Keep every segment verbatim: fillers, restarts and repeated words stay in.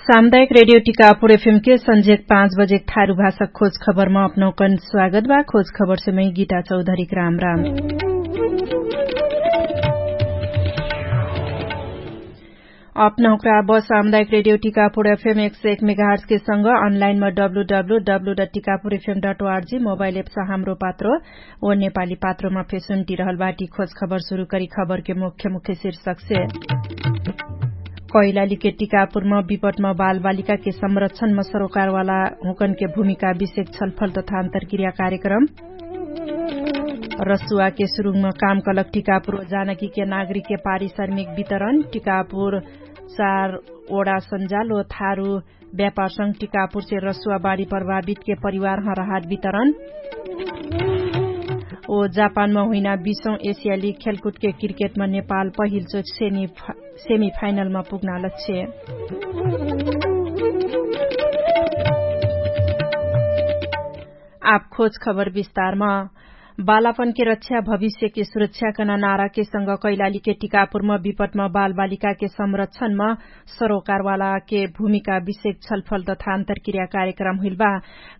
सामुदायिक रेडियो टिकापुर एफएम के सन्झेक पाँच बजेक थारु भाषा खोज खबरमा अपनौकन स्वागत बा। खोज खबरसे मै गीता चौधरीक राम राम। अपनौकरा बस सामुदायिक रेडियो टिकापुर एफएम एक सय एक मेगाहर्सके संग अनलाइनमा W W W dot Tikapur FM dot O R G mobile apps Hamro Patro ओ नेपाली पात्रोमा फेसुन्टी रहल बाटी। खोज खबर सुरु करी खबरके मुख्य मुख्य शीर्षकसे। कैलालीके टिकापुरमा विपटमा बालबालिकाके संरक्षणमा सरोकारवाला हुँकनके भूमिका विषयक छलफल तथा अन्तरक्रिया कार्यक्रम। रसुवाके सुरुङमा काम कलक टिकापुर जानकीके नागरिकके पारिश्रमिक वितरण टिकापुर चार ओडा सन्जाल ओ थारु व्यापारसँग टिकापुरसे रसुवा बाढी प्रभावितके परिवारह राहत वितरण। ओ जापानमा हुइना बिसौँ एसियाली खेलकुदके क्रिकेटमा नेपाल पहिलचोट सेमिफाइनलमा पुग्ना लच्छे। आप खोज खबर विस्तारमा। बालापनके रक्षा भविष्यके सुरक्षाकन नाराके संग कैलालीके टिकापुरमा विपटमा बालबालिकाके संरक्षणमा सरोकारवालाके भूमिका विषयक छलफल तथा अन्तरक्रिया कार्यक्रम हुइलबा।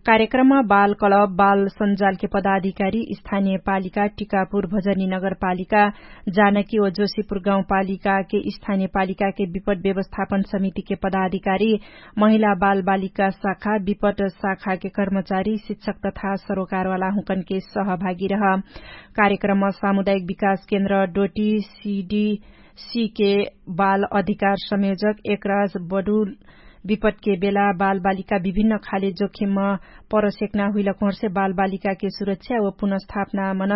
कार्यक्रममा बाल कलब बाल सञ्जालके पदाधिकारी स्थानीय पालिका टिकापुर भजनी नगरपालिका जानकी ओ जोशीपुर गाउँपालिकाके स्थानीय पालिकाके विपट व्यवस्थापन समितिके पदाधिकारी महिला बालबालिका शाखा विपट शाखाके कर्मचारी शिक्षक तथा सरोकारवाला हुँकनके सहभागी रह। कार्यक्रममा सामुदायिक विकास केन्द्र डोटी सिडी सिके बाल अधिकार संयोजक एकराज बडुल विपटके बेला बालबालिका विभिन्न खाले जोखिममा परसेक्ना हुइलक हुँहर्से बालबालिकाके सुरक्षा व पुनर्स्थापनामन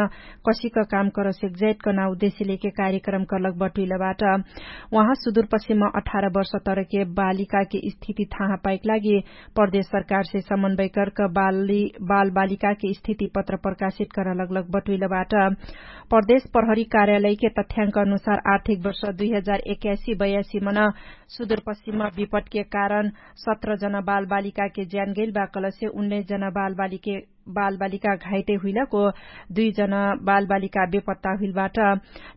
कसिक काम करसेक जैत कना उद्देश्य लेके कार्यक्रम करलक बटुइलबाट। उहाँ सुदुरपश्चिममा अठार वर्ष तरके बालिकाके स्थिति थाहा पाइक लागि प्रदेश सरकारसे समन्वय करक बालबालिकाके स्थिति पत्र प्रकाशित करलक लग बटुइलबाट। प्रदेश प्रहरी कार्यालयके तथ्याङ्क अनुसार आर्थिक वर्ष दुई हजार एक्यासी बयासी मन सुदुरपश्चिममा विपटके कारण सत्र जना बालबालिकाके ज्यान गैल बा कलसे उन्नैस जना बालबालिके बालबालिका घाइटे हुइलक ओ दुई जना बालबालिका बेपत्ता हुइलबाट।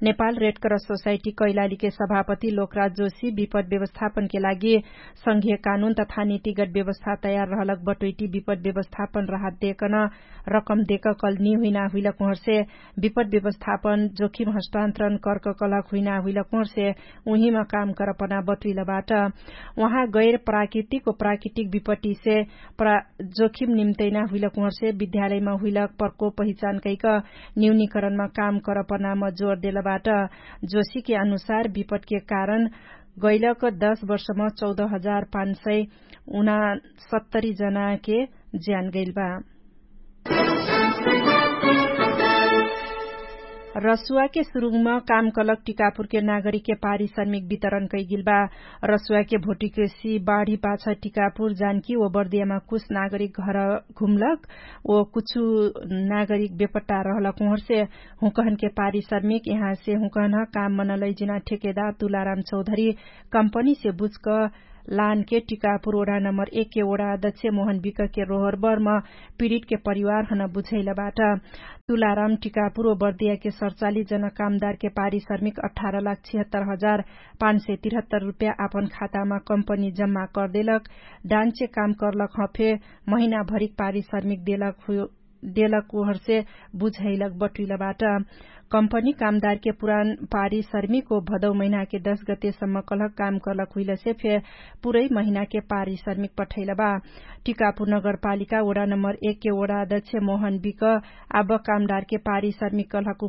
नेपाल रेड क्रस सोसाइटी कैलालीके सभापति लोकराज जोशी विपट व्यवस्थापनके लागि संघीय कानुन तथा नीतिगत व्यवस्था तयार रहलक बटोइटी विपट व्यवस्थापन राहत देकन रकम देक कल निहुइना हुइलक उहर्से विपट व्यवस्थापन जोखिम हस्तान्तरण कर्क कलक हुइना हुइलक उहर्से उहिमा काम करपना बटुइलबाट। उहाँ गैर प्राकृतिक ओ प्राकृतिक विपटिसे जोखिम निम्तैना हुइलक उहर्से विद्यालयमा हुइलक प्रकोप पहिचान कैक न्यूनीकरणमा काम करपनाम जोर देलबाट। जोशीके अनुसार विपटके कारण गैलक दश वर्षमा चौध हजार पाँच सय उनासत्तरी जनाके ज्यान गैलबा। रसुवाके सुरुङमा काम कलक टिकापुरके नागरिकके पारिश्रमिक वितरण कैगिलबा। रसुवाके भोटिकसी बाढी पाछ टिकापुर जानकी ओ बर्दियामा कुछ नागरिक घर घुमलक ओ कुछु नागरिक बेपट्टा रहलक उहरसे हुँकहनके पारिश्रमिक यहाँसे हुँकहन काम मनलैजिना ठेकेदार तुलाराम चौधरी कम्पनीसे बुझक लानके टिकापुर ओडा नम्बर एकके ओडा अध्यक्ष मोहन बिकके रोहरबर्म पिडितके परिवारहन बुझैलबाट। तुलाराम टिकापुर ओ बर्दियाके सरचाली जनकामदारके पारिश्रमिक अठार लाख छिहत्तर हजार पाँच सय तिरहत्तर रुप्या आपन खातामा कम्पनी जम्मा करदेलक। डान्चे काम करलक हफे महिनाभरिक पारिश्रमिक देलक हुयो देलक उहरसे बुझैलक बटुइलबाट। कम्पनी कामदारके पुरान पारिश्रमिक ओ भदौ महिनाके दश गतेसम्म कलहक काम करलक हुइलसे फे पुरै महिनाके पारिश्रमिक पठैलबा। टिकापुर नगरपालिका ओडा नम्बर एकके ओडा अध्यक्ष मोहन बिक आब कामदारके पारिश्रमिक कलहक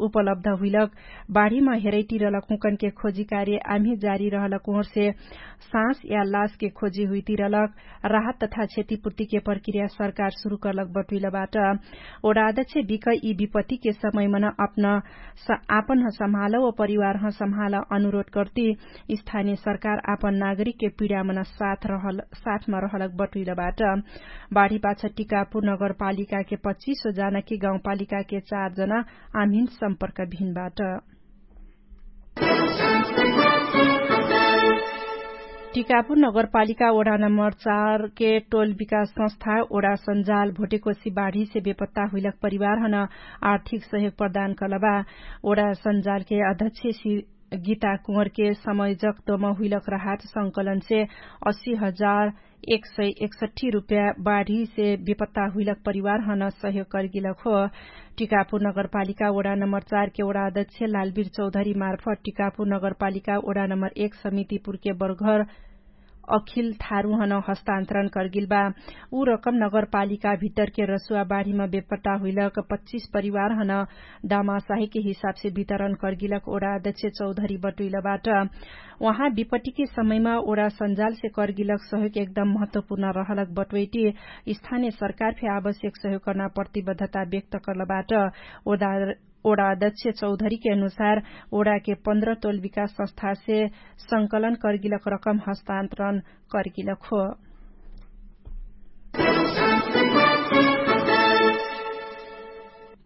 उपलब्ध हुइलक बाढीमा हेरैटी रहलक हुँकनके खोजी कार्य आम्ही जारी रहलक उहरसे साँस या लासके खोजी हुइती रहलक। राहत तथा क्षतिपूर्तिके प्रक्रिया सरकार सुरु करलक बटुइलबाट। ओडा अध्यक्ष बिक यि विपत्तिके समयमन अपन आपनह सम्हाला ओ परिवारह सम्हाला अनुरोध कर्ती स्थानीय सरकार आपन नागरिकके पिडामन साथमा रहलक बटुइलबाट। बाढीपाछ टिकापुर नगरपालिकाके पच्चिस ओ जानकी गाउँपालिकाके चार जना आम्हिन सम्पर्क भिनबाट। टिकापुर नगरपालिका ओडा नम्बर चारके टोल विकास संस्था ओडा सन्जाल भोटेकोसी बाढीसे बेपत्ता हुइलक परिवारहन आर्थिक सहयोग प्रदान कलबा। ओडा सन्जालके अध्यक्ष गीता कुँवरके समय जक्तोम हुइलक राहत संकलनसे अस्सी हजार एक सय एकसट्ठी रुप्या बाढीसे बेपत्ता हुइलक परिवारहन सहयोग करगिलक हो। टिकापुर नगरपालिका ओडा नम्बर चारके ओडा अध्यक्ष लालबीर चौधरी मार्फत टिकापुर नगरपालिका ओडा नम्बर एक समितिपुरके बर्घर अखिल थारुहन हस्तान्तरण करगिल बा। उ रकम नगरपालिका भित्तरके रसुवा बाढीम बेपत्ता हुइलक पच्चिस परिवारहन दामासाहीके हिसाबसे वितरण करगिलक ओडा अध्यक्ष चौधरी बटुइल बाट। उहाँ विपत्तिके समयमा ओडा सञ्जालसे करगिलक सहयोग एकदम महत्वपूर्ण रहलक बटुइटी स्थानिय सरकार फे आवश्यक सहयोग कर्ना प्रतिबद्धता व्यक्त कर्ल बाट। ओडा अध्यक्ष चौधरीके अनुसार ओडाके पन्ध्र तोल विकास संस्थासे संकलन करगिलक रकम हस्तान्तरण करगिलक हो।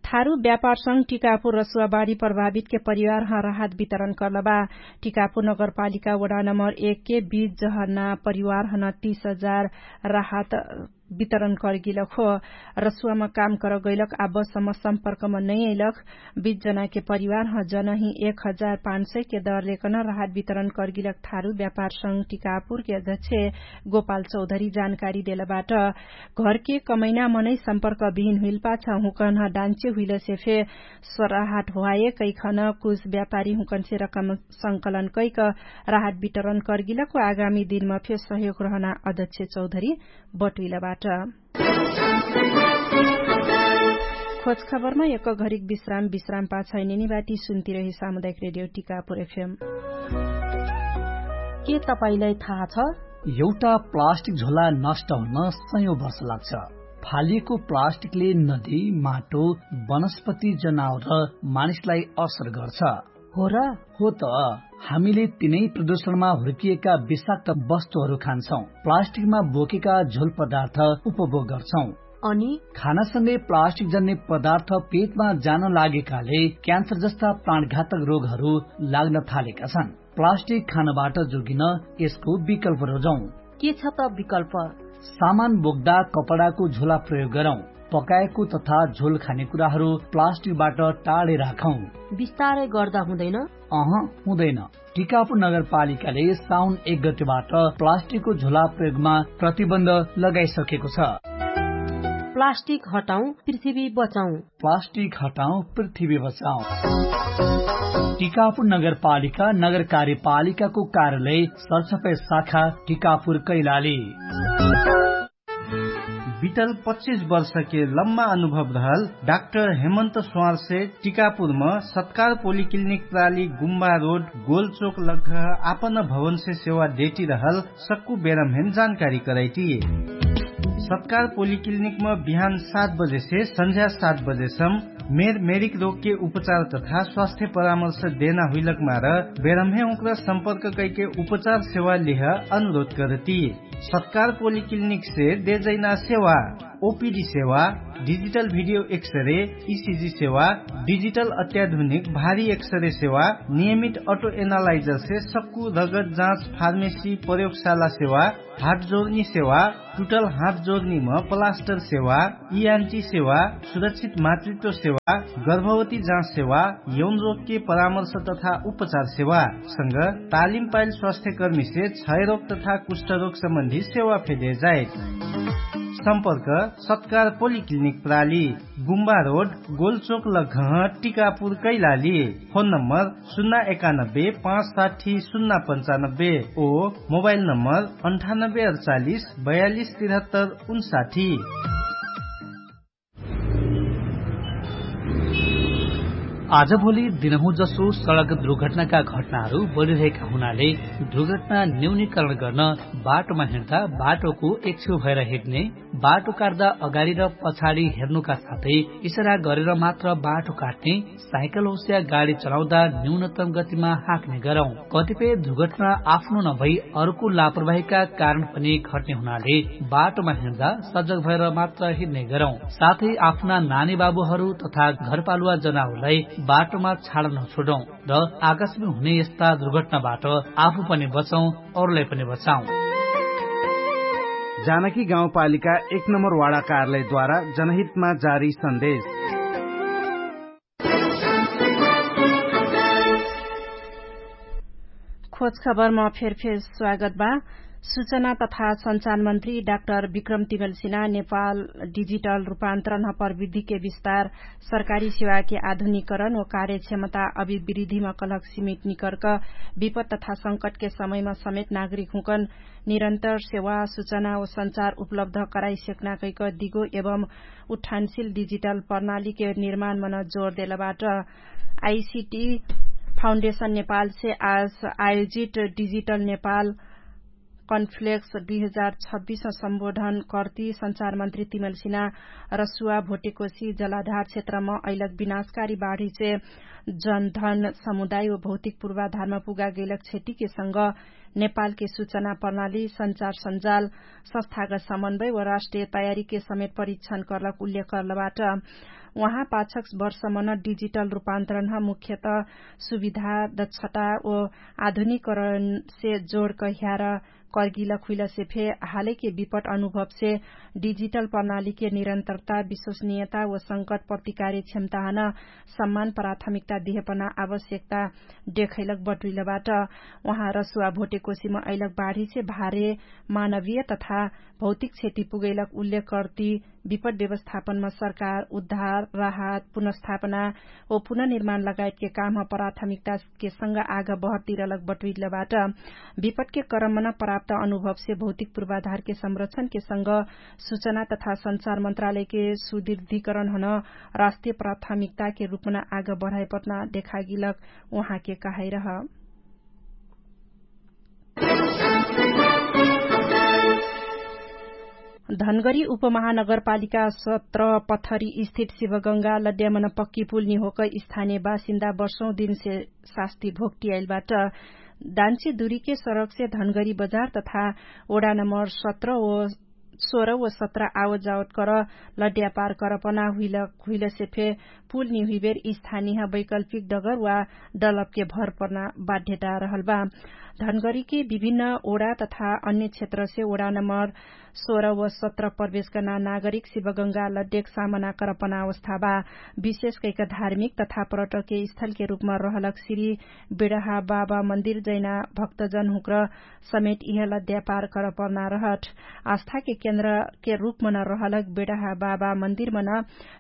थारु व्यापारसँग टिकापुर रसुवाबाडी प्रभावितके परिवारह राहत वितरण कर्लबा। टिकापुर नगरपालिका वडा नम्बर एकके बीच जहना परिवारहन तीस हजार राहत वितरण करगिलक हो। रसुवामा काम करगैलक आबसम सम्पर्कमा नैयैलक बीच जनाके परिवारह जनही एक हजार पाँच सयके दरलेकन राहत वितरण करगिलक थारु व्यापारसँग टिकापुरके अध्यक्ष गोपाल चौधरी जानकारी देलबाट। घरके कमैना मनै सम्पर्क बिहिन हुइलपाछ हुँकन्ह डान्चे हुइलसे फे स्वराहट ह्वाए कैखन कुछ व्यापारी हुँकन्से रकम संकलन कैक राहत वितरण करगिलक आगामी दिनमा फे सहयोग रहना अध्यक्ष चौधरी बटुइलबाट। खोज खबरमा एक घरिक विश्राम विश्राम पाछै निनिबाटी सुन्तिरहे सामुदायिक रेडियो टिकापुर एफएम। के तपाईंलाई थाहा छ? एउटा प्लास्टिक झोला नष्ट हुन सयौं वर्ष लाग्छ। फालिएको प्लास्टिकले नदी, माटो, वनस्पति, जनावर र मानिसलाई असर गर्छ। हो र? हो त। हामीले तिनै प्रदूषणमा हुर्किएका विषाक्त वस्तुहरू खान्छौं, प्लास्टिकमा बोकेका झोल पदार्थ उपभोग गर्छौं। अनि खानासँगै प्लास्टिक जन्ने पदार्थ पेटमा जान लागेकाले क्यान्सर जस्ता प्राणघातक रोगहरू लाग्न थालेका छन्। प्लास्टिक खानबाट जोगिन यसको विकल्प रोजौं। के छ त विकल्प? सामान बोक्दा कपडाको झोला प्रयोग गरौं। पकाएको तथा झोल खाने कुराहरू प्लास्टिकबाट टाढे राखौं। बिस्तारै गर्दा हुँदैन? अह, हुँदैन। टिकापुर नगरपालिकाले साउन एक गतेबाट प्लास्टिकको झोला प्रयोगमा प्रतिबन्ध लगाइसकेको छ। प्लास्टिक हटाउँ, पृथ्वी बचाउँ। प्लास्टिक हटाउँ, पृथ्वी बचाउँ। टिकापुर नगरपालिका नगर कार्यपालिकाको कार्यालय सरसफाई शाखा टिकापुर कैलाली। बितल पच्चिस वर्षके लम्बा अनुभव रहल डाक्टर हेमन्त स्वारसे टिकापुरम सत्कार पोलिक्लिनिक प्राली गुम्बा रोड गोलचोक लग्घ आपन भवनसे सेवा देटी रहल सक्कु बेरमहेन जानकारी करैटी। सत्कार पोलिक्लिनिकम बिहान सात बजेसे सन्झ्या सात बजेसम मेर मेरिक रोगके उपचार तथा स्वास्थ्य परामर्श देना हुइलक मार बेरमहे उक्रा सम्पर्क कैके उपचार सेवा लिह अनुरोध करती। सत्कार पोलिक्लिनिकसे देजैना सेवा ओपिडी सेवा, डिजिटल भिडियो एक्सरे, इसिजी सेवा, डिजिटल अत्याधुनिक भारी एक्सरे सेवा, नियमित अटो एनालाइजरसे सक्कु रगत जाँच फार्मेसी प्रयोगशाला सेवा, हात जोर्नी सेवा, टुटल हात जोर्नीम प्लास्टर सेवा, इआन्टी सेवा, सुरक्षित मातृत्व सेवा, गर्भवती जाँच सेवा, यौन रोगके परामर्श तथा उपचार सेवा संग तालिम पाइल स्वास्थ्यकर्मीसे क्षयरोग तथा कुष्ठरोग सम्बन्धी सेवा फेदे जाइत। सम्पर्क सत्कार पोलिक्लिनिक प्राली, गुम्बा रोड, गोलचोक लग्घह, टिकापुर कैलाली। फोन नम्बर सुन्ना एकानब्बे पाँच साठी सुन्ना पन्चानब्बे ओ मोबाइल नम्बर अन्ठानब्बे अडचालिस बयालिस तिरहत्तर उन्साठी। आजभोलि दिनहुँ जसो सडक दुर्घटनाका घटनाहरू बढिरहेका हुनाले दुर्घटना न्यूनीकरण गर्न बाटोमा हिँड्दा बाटोको एकछेउ भएर हिँड्ने, बाटो काट्दा अगाडि र पछाडि हेर्नुका साथै इसारा गरेर मात्र बाटो काट्ने, साइकल होस्या गाडी चलाउँदा न्यूनतम गतिमा हाँक्ने गरौँ। कतिपय दुर्घटना आफ्नो नभई अर्को लापरवाहीका कारण पनि घट्ने हुनाले बाटोमा हिँड्दा सजग भएर मात्र हिँड्ने गरौँ। साथै आफ्ना नानी बाबुहरू तथा घरपालुवा जनावरलाई बाटोमा छाड नछोडौँ र आकस्मिक हुने यस्ता दुर्घटनाबाट आफू पनि बचौँ, अरूलाई पनि बचाउँ। जानकी गाउँपालिका एक नम्बर वाडा कार्यालयद्वारा जनहितमा जारी सन्देश। खबरमा फेरफेर स्वागत बा। सूचना तथा सञ्चार मन्त्री डाक्टर विक्रम तिमलसिना नेपाल डिजिटल रूपान्तरणह प्रविधिके विस्तार, सरकारी सेवाके आधुनिकरण व कार्यक्षमता अभिवृद्धिमा कलहक सिमिट निकर्क विपत तथा संकटके समयमा समेत नागरिकहुँकन निरन्तर सेवा सूचना व सञ्चार उपलब्ध कराइसेक्ना कैक दिगो एवं उठानशिल डिजिटल प्रणालीके निर्माणमन जोर देलबाट। आइसिटी फाउन्डेशन नेपालसे आज आयोजित डिजिटल नेपाल कन्फ्लेक्स दुई हजार छब्बिस सम्बोधन कर्ती सञ्चार मन्त्री तिमलसिना रसुवा भोटेकोसी जलाधार क्षेत्रमा अइलक विनाशकारी बाढीसे जनधन समुदाय व भौतिक पूर्वाधारमा पुगा गैलक क्षतिके संग नेपालके सूचना प्रणाली सञ्चार सञ्जाल संस्थागत समन्वय व राष्ट्रिय तयारीके समेत परीक्षण कर्लक उल्लेख कर्लबाट। उहाँ पाछक वर्षमन डिजिटल रूपान्तरणह मुख्यत सुविधा दक्षता व आधुनिकरणसे जोडक ह्यार कर्गिलक हुइलसे फे हालैके विपट अनुभवसे डिजिटल प्रणालीके निरन्तरता विश्वसनीयता व संकट प्रतिकारी क्षमताहन सम्मान प्राथमिकता दिहेपना आवश्यकता देखैलक बटुइलबाट। उहाँ रसुवा भोटेकोसीमा अइलक बाढीसे भारे मानवीय तथा भौतिक क्षति पुगैलक उल्लेख कर्ती विपट व्यवस्थापनमा सरकार उद्धार राहत पुनर्स्थापना व पुनर्निर्माण लगायतके कामह प्राथमिकताके संग आग बहरतिरलक बटुइलबाट। विपटके क्रममन प्राप्त अनुभवसे भौतिक पूर्वाधारके संरक्षणके संग सूचना तथा सञ्चार मन्त्रालयके सुदृढीकरणहन राष्ट्रिय प्राथमिकताके रूपमन आग बढाइपटना देखागिलक उहाँके कहाइरह। धनगरी उपमहानगरपालिका सत्र पथरी स्थित शिवगङ्गा लड्यामन पक्की पुल निहोक स्थानीय बासिन्दा वर्षौं दिनसे शास्ति भोक्टियाइलबाट। दान्ची दुरीके सडकसे धनगरी बजार तथा ओडा नम्बर सत्र व सोह्र व सत्र आवजावट कर लड्यापार करपना हुइलसे फे पुल निहुइबेर स्थानीय वैकल्पिक डगर वा डलपके भर पर्ना बाध्यता रहलबा। धनगरीके विभिन्न ओडा तथा अन्य क्षेत्रसे ओडा नम्बर सोह्र व सत्र प्रवेशकना नागरिक शिवगङ्गा लड्डेक सामना करपना अवस्थाबा। विशेष कैक धार्मिक तथा पर्यटके स्थलके रूपमा रहलक श्री बेडहा बाबा मन्दिर जैना भक्तजन हुँक्र समेत इह लद्यापार करपना रहट। आस्थाके केन्द्रके रूपमन रहलक बेडहा बाबा मन्दिरमन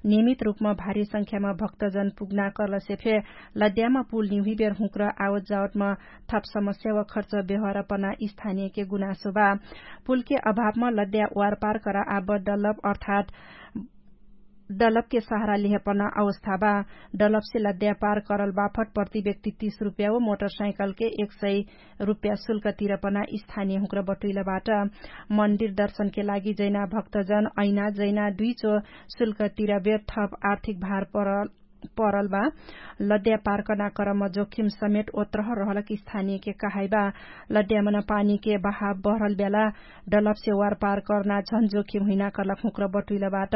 नियमित रूपमा भारी संख्यामा भक्तजन पुग्ना करलसे फे लद्यामा पुल निहुइबेर हुँक्र आवतजावतमा थप समस्या व खर्च बेहरपना स्थानीयके गुनासो बा। पुलके अभावमा लद्या वारपार कर आब डलप अर्थात डलपके सहारा लिहेपना अवस्था बा। डलपसे लद्या पार करल बाफट प्रति व्यक्ति तीस रुप्या व मोटरसाइकलके एक सय रुप्या शुल्क तिरपना स्थानीय हुँक्र बटुइलबाट। मन्दिर दर्शनके लागि जैना भक्तजन ऐना जैना दुइचो शुल्क तिरबेर थप आर्थिक भार परल बा। लद्या पार कर्ना करम जोखिम समेट ओत्रह रहलक स्थानीयके कहाइबा। लद्यामन पानीके बहाव बहरल ब्याला डलपसे वार पार कर्ना झन जोखिम हुइना कर्लक हुँक्र बटुइलबाट।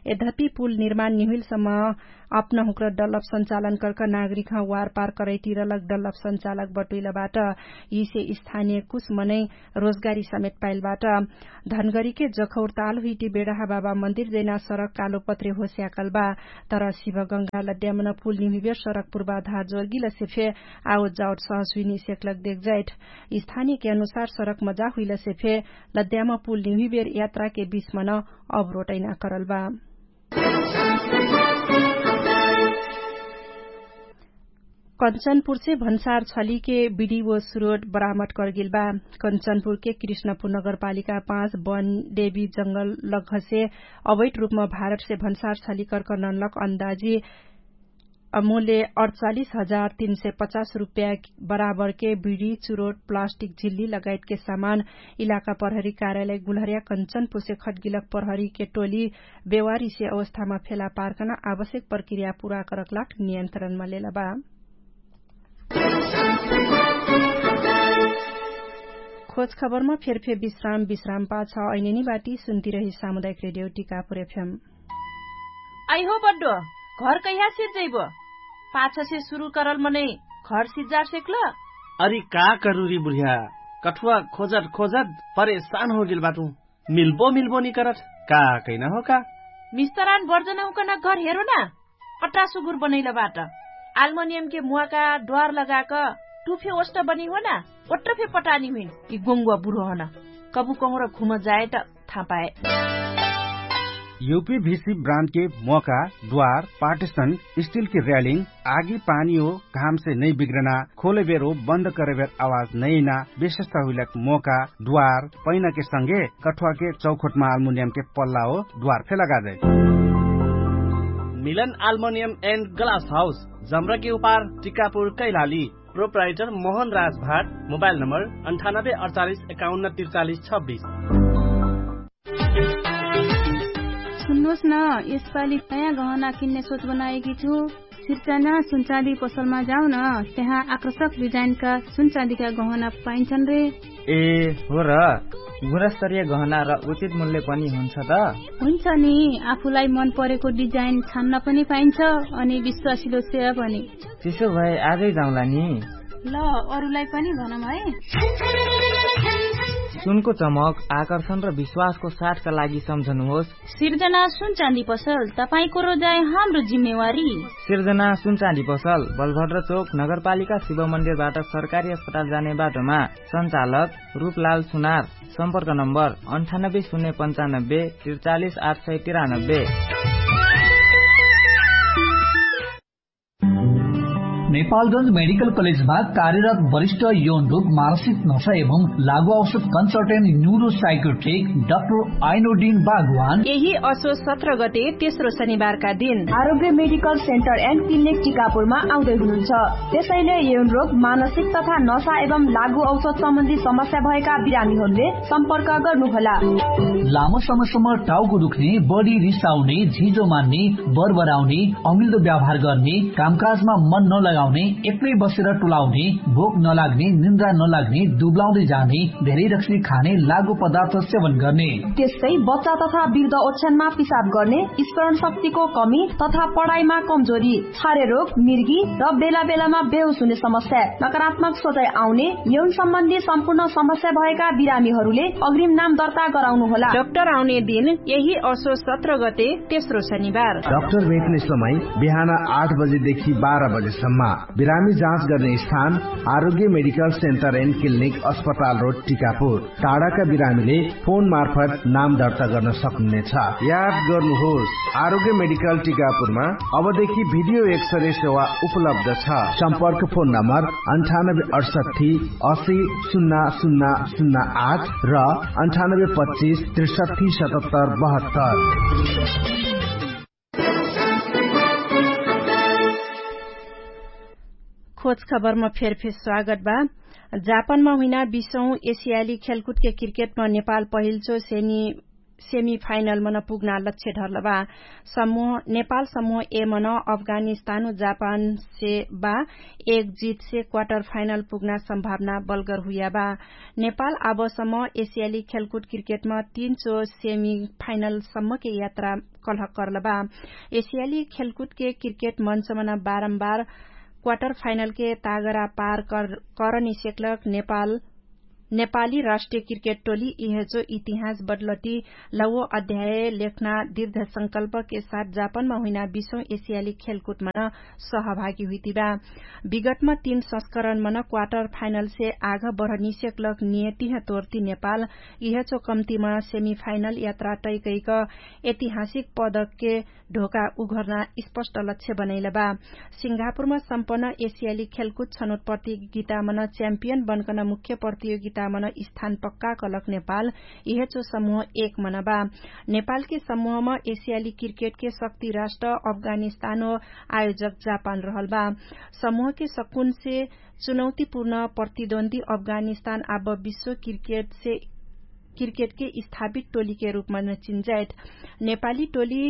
यद्यपि पुल निर्माण निहुइलसम्म अपना हुँक्र डलप सञ्चालन कर्क नागरिकह वार पार करैतिरलक डलप सञ्चालक बटुइलबाट। यिसे स्थानीय कुछ मनै रोजगारी समेत पाइलबाट। धनगरीके जखौर ताल हुइटी बेडहा बाबा मन्दिर जैना सरक कालो पत्रे होस्याकल बा। तर शिवगङ्गा लद्यामन पुल निहुइबेर सरक पुर्वाधार जोर्गिलसे फे आवत जावत सहस हुइनी सेक्लक देखजाइट। स्थानीयके अनुसार सरक मजा हुइलसे फे लद्याम पुल निहुइबेर यात्राके बिचमन अवरोटैना करल बा। कञ्चनपुरसे भन्सार छलीके बिडी व सुरोट बरामट करगेल बा। कञ्चनपुरके कृष्णपुर नगरपालिका पाँच बन देवी जङ्गल लग्घसे अवैट रूपमा भारतसे भन्सार छली कर्कननलक अन्दाजी अमूल्य अडचालिस हजार तीन सय पचास रुप्या बराबरके बिडी चुरोट प्लास्टिक झिल्ली लगायतके सामान इलाका प्रहरी कार्यालय गुलहर्या कञ्चनपुरसे खटगिलक प्रहरीके टोली बेवारीसे अवस्थामा फेला पार्कन आवश्यक प्रक्रिया पुरा करकलाक नियन्त्रणमा लेलबा। खोज खबरमा फेरफेर विश्राम विश्राम पाछ ऐनेनी बाटी सुन्तिरही सामुदायिक रेडियो टिकापुर एफएम। आइहो बड्डो, घर कैहा सिर्जैबो? पाछसे सुरु करल मनै घर सिर्जार सेक्ल? अरि का करुरी बुढ्या, कठुवा खोजत खोजत परेशान होगेल बाटु। मिल्बो मिल्बो निकरत, का कैना हो का? मिस्तरान बर्जनहुँकन घर हेरो ना, अट्टा सुगुर बनैल बाट। आल्मोनियमके मुवाका ड्वार लगाक टुफे ओष्ट बनी हो न ओट्ट फे पटानी हुइन। यि गोङ्गुवा बुढो हन कबु कहुँर घुम जाए त थाहा पाए। युपी भिसी ब्रान्डके मोका, द्वार, पार्टिसन, स्टिलके र्यालिङ, आगी पानी हो घामसे नै बिग्रना, खोलेबेर हो बन्द करेबेर आवाज नैना, विशेषता हुइलक मोका, द्वार, पैनाके संगे कठुवाके चौखोटमा आल्मुनियमके पल्ला हो द्वार फे लगाजै। मिलन आल्मुनियम एन्ड ग्लास हाउस, जम्रके उपार, टिकापुर, कैलाली। प्रोप्राइटर मोहन राज भाट। मोबाइल नम्बर अन्ठानब्बे अडचालिस एकाउन्न त्रिचालिस छब्बिस। सुन्नुस न, यसपालि नयाँ गहना किन्ने सोच बनाएकी छु। सिर्जना सुनचाँदी पसलमा जाउ न, त्यहाँ आकर्षक डिजाइनका सुनचाँदीका गहना पाइन्छन् रे। ए, हो र। गुणस्तरीय गहना र उचित मूल्य पनि हुन्छ त? हुन्छ नि, आफूलाई मन परेको डिजाइन छान्न पनि पाइन्छ, अनि विश्वासिलो सेवा पनि। त्यसो भए आजै जाउँला नि। ल, अरूलाई पनि भनौँ है। सुनको चमक, आकर्षण र विश्वासको साथका लागि सम्झनुहोस्। सिर्जना सुनचाँदी पसल, तपाईंको रोजाइ हाम्रो जिम्मेवारी। सिर्जना सुनचाँदी पसल, बलभद्र चोक, नगरपालिका शिव मन्दिरबाट सरकारी अस्पताल जाने बाटोमा। सञ्चालक रूपलाल सुनार। सम्पर्क नम्बर अन्ठानब्बे शून्य पन्चानब्बे त्रिचालिस आठ सय तिरानब्बे। नेपालगञ्ज मेडिकल कलेजमा कार्यरत वरिष्ठ यौन रोग, मानसिक नशा एवं लागु औषध कन्सल्टेन्ट न्युरोसाइकोट्रिक डाक्टर आइनोडिन बागवान यही असो सत्र गते तेस्रो शनिबारका दिन आरोग्य मेडिकल सेन्टर एन्ड क्लिनिक टिकापुरमा आउँदै हुनुहुन्छ। त्यसैले यौन रोग, मानसिक तथा नशा एवं लागु औषध सम्बन्धी समस्या भएका बिरामीहरूले सम्पर्क गर्नुहोला। लामो समयसम्म टाउको दुख्ने, बढी रिसाउने, झिजो मान्ने, बरबराउने, अमिल्दो व्यवहार गर्ने, कामकाजमा मन नलगाउने, एक्लै बसेर टुलाउने, भोक नलाग्ने, निन्द्रा नलाग्ने, दुब्लाउँदै जाने, धेरै रक्सी खाने, लागु पदार्थ सेवन गर्ने, त्यस्तै बच्चा तथा वृद्ध ओछ्यानमा पिसाब गर्ने, स्मरण शक्तिको कमी तथा पढाइमा कमजोरी, छारे रोग, मिर्गी र बेला बेलामा बेहोस हुने समस्या, नकारात्मक सोचाइ आउने, यौन सम्बन्धी सम्पूर्ण समस्या भएका बिरामीहरूले अग्रिम नाम दर्ता गराउनुहोला। डाक्टर आउने दिन यही असो सत्र गते, तेस्रो शनिबार। डाक्टर भेट्ने समय बिहान आठ बजेदेखि बाह्र बजेसम्म। बिरामी जाँच गर्ने स्थान आरोग्य मेडिकल सेन्टर एन्ड क्लिनिक, अस्पताल रोड, टिकापुर। टाढाका बिरामीले फोन मार्फत नाम दर्ता गर्न सक्नुहुनेछ। याद गर्नुहोस्, आरोग्य मेडिकल टिकापुरमा अबदेखि भिडियो एक्सरे सेवा उपलब्ध छ। सम्पर्क फोन नम्बर अन्ठानब्बे अडसट्ठी असी शून्य शून्य शून्य आठ र अन्ठानब्बे पच्चिस त्रिसट्ठी सतहत्तर बहत्तर। खोज खबरमा फेरफेर स्वागत बा। जापानमा हुइना बिसौँ एसियाली खेलकुदके क्रिकेटमा नेपाल पहिल्चो सेनी सेमी फाइनलमन पुग्ना लक्ष्य ढर्लबा। समूह नेपाल समूह एमन अफगानिस्तान जापानसे बा एक जितसे क्वार्टर फाइनल पुग्ना सम्भावना बलगर हुइयाबा। नेपाल आबसम्म एसियाली खेलकुद क्रिकेटमा तीनचो सेमी फाइनलसम्मके यात्रा कलहक कर्लबा। एसियाली खेलकुदके क्रिकेट मन्चमन बारम्बार क्वार्टर फाइनलके तागरा पार करनिसेक्लक नेपाल नेपाली राष्ट्रिय क्रिकेट टोली इहेजो इतिहास बदलती लवो अध्याय लेख्ना दृढ संकल्पके साथ जापानमा हुइना बिसौँ एसियाली खेलकुदमन सहभागी हुइतिबा। विगतमा तीन संस्करणमन क्वार्टर फाइनलसे आघ बढनिसेक्लक नियतिह तोर्ती नेपाल इहेजो कम्तिमा सेमी फाइनल यात्रा तैकैक ऐतिहासिक पदकके ढोका उघर्ना स्पष्ट लक्ष्य बनैलबा। सिंगापुरमा सम्पन्न एसियाली खेलकुद छनोट प्रतियोगितामन च्याम्पियन बन्कन मुख्य प्रतियोगितामन स्थान पक्का कलक नेपाल इहेचो समूह एक मनबा। नेपालके समूहम एसियाली क्रिकेटके शक्ति राष्ट्र अफगानिस्तान हो आयोजक जापान रहलबा। समूहके सकुनसे चुनौतीपूर्ण प्रतिद्वन्दी अफगानिस्तान आब विश्व क्रिकेटसे क्रिकेटके स्थापित टोलीके रूपमन चिन्जाइत नेपाली टोली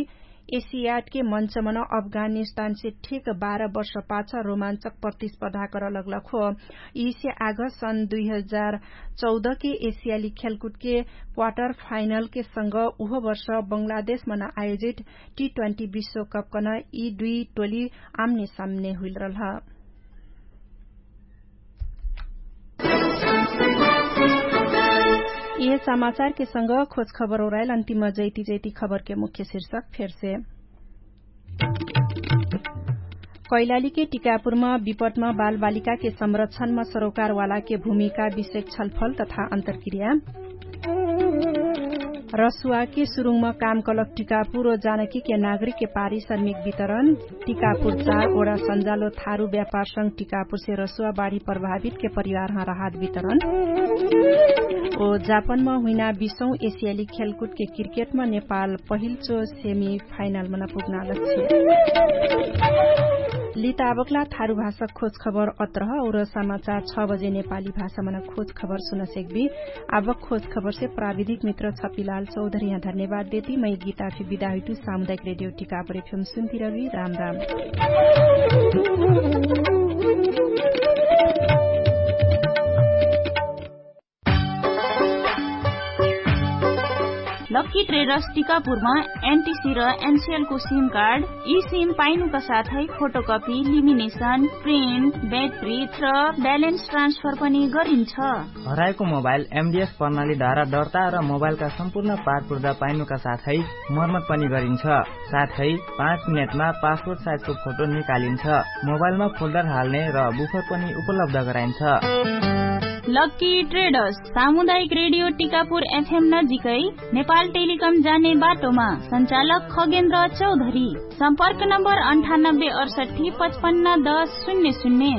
एसियाडके मन्चमन अफगानिस्तानसे ठिक बाह्र वर्ष पाछ रोमान्चक प्रतिस्पर्धा करलग्लक हो। यिसे आघ सन् दुई हजार चौधके एसियाली खेलकुदके क्वार्टर फाइनलके संग उहो वर्ष बङ्गलादेशमन आयोजित टी ट्वेन्टी विश्वकपकन यि दुई टोली आम्ने साम्ने हुइलरल ह। यिहे समाचारके संग खोज खबर ओराइल अन्तिम जैती जैती खबरके मुख्य शिर्षक फेरसे। कैलालीके टिकापुरमा विपटमा बालबालिकाके संरक्षणमा सरोकारवालाके भूमिका विषयक छलफल तथा अन्तरक्रिया। रसुवाके सुरुङमा कामकलक टिकापुर ओ जानकीके नागरिकके पारी श्रमिक वितरण। टिकापुर चार ओडा सन्जालो थारु व्यापारसँग टिकापुरसे रसुवा बाढी प्रभावितके परिवारहाँ राहत वितरण। ओ जापानमा हुइना बिसौँ एसियाली खेलकुदके क्रिकेटमा नेपाल पहिल्चो सेमी फाइनल मना पुग्ना लक्ष्य। लिताबकला थारु भाषा खोज खबर अत्रह और समाचार छ बजे नेपाली भाषा मना खोज खबर सुनसेकबी। आबक खोज खबरसे प्राविधिक मित्र छपिलाल चौधरिया धन्यवाद देती मै गीताफी विदाहिटु सामुदायिक रेडियो टिकापुर एफएम सुन्तिरबी। राम राम। लक्की ट्रेडर्स टिकापुरमा एनटिसी र एनसिएलको सिम कार्ड, ई सिम पाइनुका साथै फोटोकपी लिमिनेसन, प्रिन्ट, ब्याट्रिट र ब्यालेन्स ट्रान्सफर पनि गरिन्छ। हराएको मोबाइल एमडिएस प्रणाली धारा दर्ता र मोबाइलका सम्पूर्ण पारपुर्दा पाइनुका साथै मर्मत पनि गरिन्छ। साथै पाँच मिनेटमा पासपोर्ट साइजको फोटो निकालिन्छ। मोबाइलमा फोल्डर हाल्ने र बुफर पनि उपलब्ध गराइन्छ। लक्की ट्रेडर्स सामुदायिक रेडियो टिकापुर एफएम नजिकै नेपाल टेलिकम जाने बाटोमा। सञ्चालक खगेन्द्र चौधरी। सम्पर्क नम्बर अन्ठानब्बे अडसट्ठी पचपन्न दस शून्य शून्य।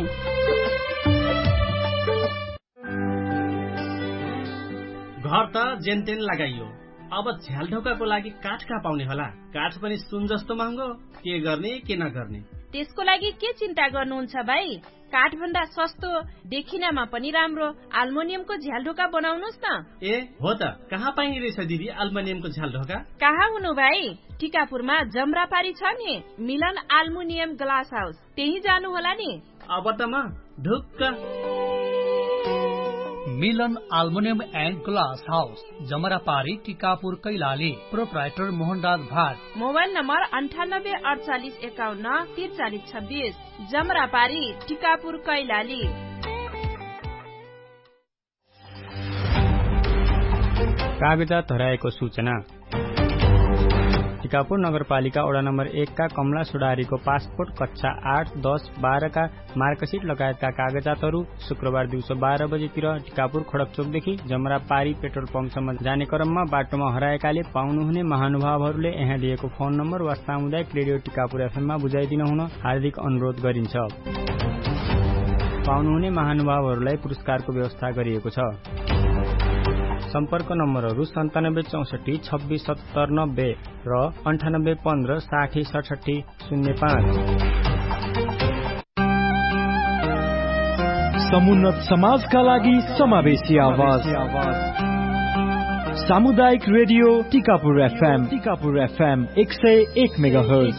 घर त जेनतेन लगाइयो, अब झ्यालढोकाको लागि काठ कहाँ पाउने होला? काठ पनि सुन जस्तो महँगो। के गर्ने के नगर्ने? त्यसको लागि के चिन्ता गर्नुहुन्छ भाइ? काठभन्दा सस्तो, देखिनामा पनि राम्रो आल्मोनियमको झ्यालढोका बनाउनुस् न। ए हो त, कहाँ पाइने रहेछ दिदी आल्मोनियमको झ्यालढोका? कहाँ हुनु भाइ? टिकापुरमा जमरापारी छ नि, मिलन आल्मोनियम ग्लास हाउस, त्यही जानु होला नि। अब त म ढुक्क। मिलन आल्मोनियम एन्ड ग्लास हाउस, जमरापारी टिकापुर कैलाली। प्रोप्राइटर मोहनराज भाट। मोबाइल नम्बर अन्ठानब्बे अडचालिस एकाउन्न तिरचालिस छब्बिस। जमरापारी टिकापुर कैलाली। कागजात हराएको सूचना। टिकापुर नगरपालिका ओडा नम्बर एकका कमला सुडारीको पासपोर्ट कक्षा आठ दस बाह्रका मार्कसिट लगायतका कागजातहरू शुक्रबार दिउँसो बाह्र बजेतिर टिकापुर खडकचोकदेखि जमरा पारी पेट्रोल पम्पसम्म जाने क्रममा बाटोमा हराएकाले पाउनुहुने महानुभावहरूले यहाँ दिएको फोन नम्बर वा सामुदायिक रेडियो टिकापुर एफएममा बुझाइदिन हुन हार्दिक अनुरोध गरिन्छ। पाउनुहुने महानुभावहरूलाई पुरस्कारको व्यवस्था गरिएको छ। सम्पर्क नम्बरहरू सन्तानब्बे चौसठी छब्बिस सत्तर नब्बे र अन्ठानब्बे पन्ध्र साठी सठठी शून्य पाँच। समुन्नत समाजका लागि समावेशी आवाज। सामुदायिक रेडियो टिकापुर एफएम टिकापुर एफएम एक सय एक मेगाहर्ज।